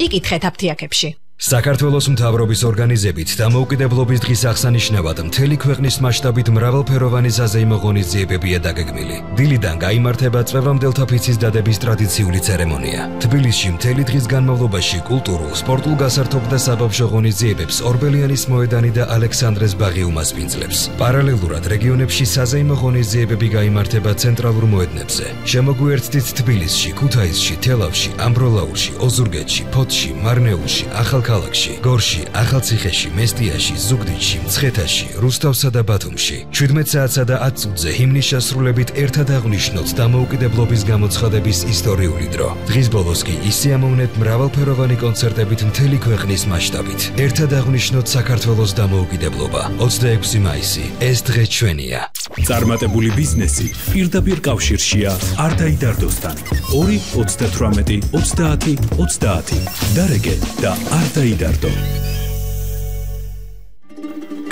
იკითხეთ აფთიაქებში. საქართველოს მთავრობის ორგანიზებით დამოუკიდებლობის დღის აღსანიშნავად მთელი ქვეყნის მასშტაბით მრავალფეროვანი საზეიმო ღონისძიებებია დაგეგმილი. დილიდან გაიმართება წვევამდელთა ფიცის დადების ტრადიციული ცერემონია. თბილისში მთელი დღის განმავლობაში კულტურულ, სპორტულ გასართობ და საბავშვო ღონისძიებებს ორბელიანის მოედანი და ალექსანდრეს ბაღი უმასპინძლებს. პარალელურად რეგიონებში საზეიმო ღონისძიებები გაიმართება ცენტრალურ მოედნებზე. შემოგვიერთდით თბილისში, ქუთაისში, თელავში, ამბროლაურში, ოზურგეთში, ფოთში, მარნეულში, ქალაქში, გორში, ახალციხეში, მესტიაში, ზუგდიდში, მცხეთაში, რუსთავსა და ბათუმში. 17 საათსა და 10 წუთზე ჰიმნის შესრულებით ერთად აღვნიშნოთ დამოუკიდებლობის გამოცხადების ისტორიული დრო. დღის ბოლოს კი ისიამოვნეთ მრავალფეროვანი კონცერტებით მთელი ქვეყნის მასშტაბით. ერთად აღვნიშნოთ საქართველოს დამოუკიდებლობა. 26 მაისი, ეს დღე ჩვენია. წარმატებული ბიზნესი პირდაპირ კავშირშია არტაიდარდოსთან. 2 38 30 30 დარეგე და არტაიდარდო.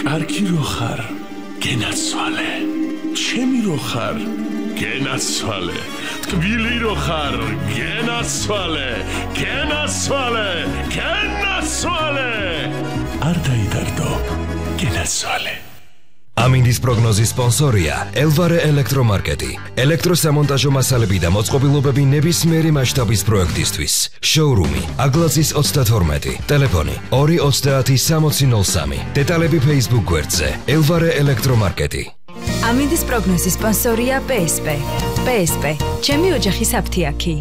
კარგი რო ხარ, გენაცვალე. ჩემი რო ხარ, გენაცვალე. ტკბილი რო ხარ, გენაცვალე. გენაცვალე. გენაცვალე. არტაიდარდო. გენაცვალე. ამინდის პროგნოზის სპონსორია ელვარე ელექტრომარკეტი. ელექტროსამონტაჟო მასალები და მოწყობილობები ნებისმიერი მასშტაბის პროექტისთვის. შოურუმი აგლაზის 32, ტელეფონი 230 დეტალები Facebook გვერდზე ელვარე ელექტრომარკეტი. ამინდის პროგნოზის სპონსორია PSP. PSP, ჩემი ოჯახის აფთიაქი.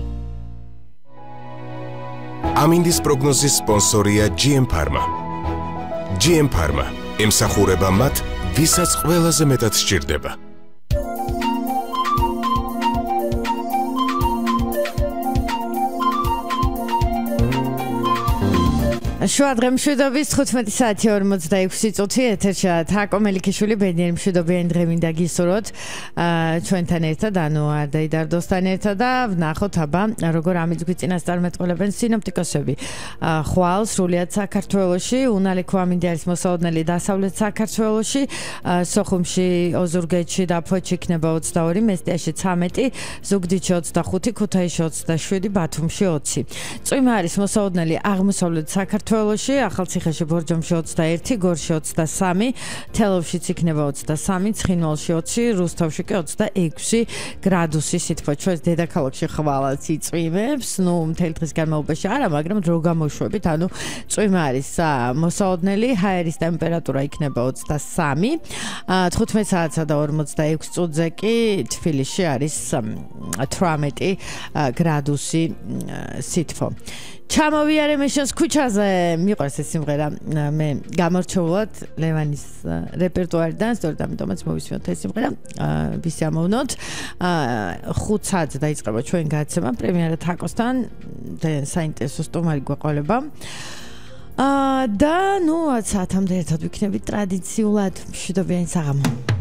ამინდის პროგნოზის სპონსორია GM Pharma. GM Pharma ემსახურება მათ, ვისაც ყველაზე მეტად სჭირდება. შუადღე მშვიდობის 15 საათი 46 წუთი ეთერშია თაკო მელიქიშვილი ბედნიერი მშვიდობიანი დღე მინდა გისურვოთ ჩვენთან ერთად ანუ არტაიდარდოსთან ერთად და ვნახოთ აბა როგორ ამის გვიწინას წარმეტყველებენ სინოპტიკოსები ხვალ სრულიად საქართველოში უნალიქო ამინდი არის მოსაოდნელი დასავლეთ საქართველოში სოხუმში ოზურგეთში და ფოთში იქნება 22 მესტიაში 13 ზუგდიდში 25 ქუთაისში 27 ბათუმში 20 წვიმა არის მოსაოდნელი აღმოსავლეთ საქართველოში ახალციხეში ბორჯომში 21, გორში 23, თელავშიც იქნება 23, ცხინვალში 20, რუსთავში კი 26 გრადუსი სითბო. ჩვენს დედაქალაქში ხვალაც იწვიმებს, ნუ მთელი დღის განმავლობაში არა, მაგრამ დრო გამოშვებით, ანუ წვიმა არის მოსაოდნელი, ჰაერის ტემპერატურა იქნება 23, 15 საათსა და 46 წუთზე კი თბილისში არის 18 გრადუსი სითბო. ჩამოვიარე მე შენს ქუჩაზე მიყვარს ეს სიმღერა მე გამორჩეულად ლევანის რეპერტუარიდან სწორედ ამიტომაც მოვისმინოთ ეს სიმღერა ვისიამოვნოთ 5 საათზე დაიწყება ჩვენ გადაცემა პრემიერა თაკოსთან ძალიან საინტერესო სტუმარი გვეყოლება და ნუ 10 საათამდე ერთად ვიქნებით ტრადიციულად მშვიდობიანი საღამო